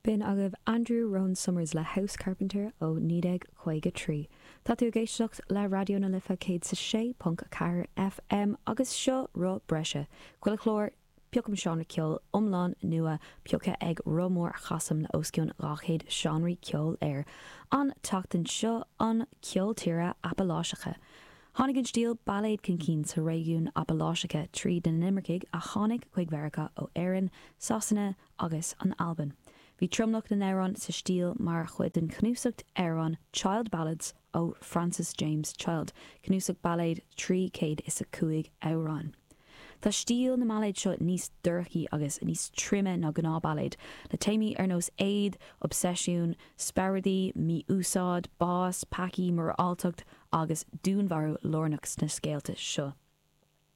B'in agaibh Andrew Roan Summers le House Carpenter ó 1953. Tá tú ag éisteacht le Raidió na Life 106.4 FM agus seo Roth Breise, chuile chlár, piocaim seánra ceoil iomlán nua pioctha ag roth mór a chasaim le os cionn 200 seánraí ceoil air. An tseachtain seo, an ceol tíre Apaláiseach. Tháinig an stíl bailéad chun cinn sa réigiún Apaláiseach tríd na n-imircigh a tháinig chuig Mheiriceá ó Éirinn, Sasana, agus an Albain. Bhí tromlach na n-amhrán sa stíl mar chuid den chnuasach amhrán Child Ballads ó Francis James Child, cnuasach bailéad 305 amhrán. Tá stíl na mbailéad seo níos dorchaí agus níos troime ná gnáthbhailéid, le téamaí ar nós éad, obseisiún, spioradaí, mí-úsáid, bás, peacaí, moráltacht agus dúnmharú lárnach sna scéalta seo.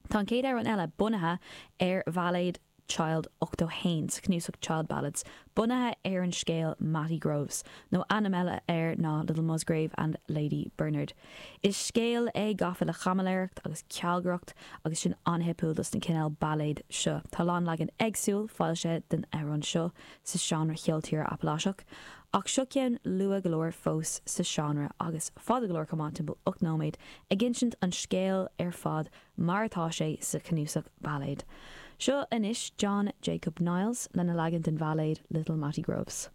Tá an chéad amhrán eile bunaithe ar bhailéad Child 81 sa chnuasach Child Ballads, bunaithe ar an scéal Matty Groves, nó ainm eile air ná Little Musgrave and Lady Bernard. Is scéal é gafa le caimiléireacht agus cealgaireacht agus sin an-thipiciúil dos na cineál bailéad seo. Tá a lán leagan éagsúil foilsithe den amhrán seo sa seánra cheol tíre Apaláiseach, ach seo ceann luath go leor fós sa seánra agus fada go leor chomh maith, timpeall 8 nóiméad, ag insint an scéil ar fad mar atá sé sa chnuasach bailéad. Seo anois John Jacob Niles lena leagan den bhailéad Little Matty Groves.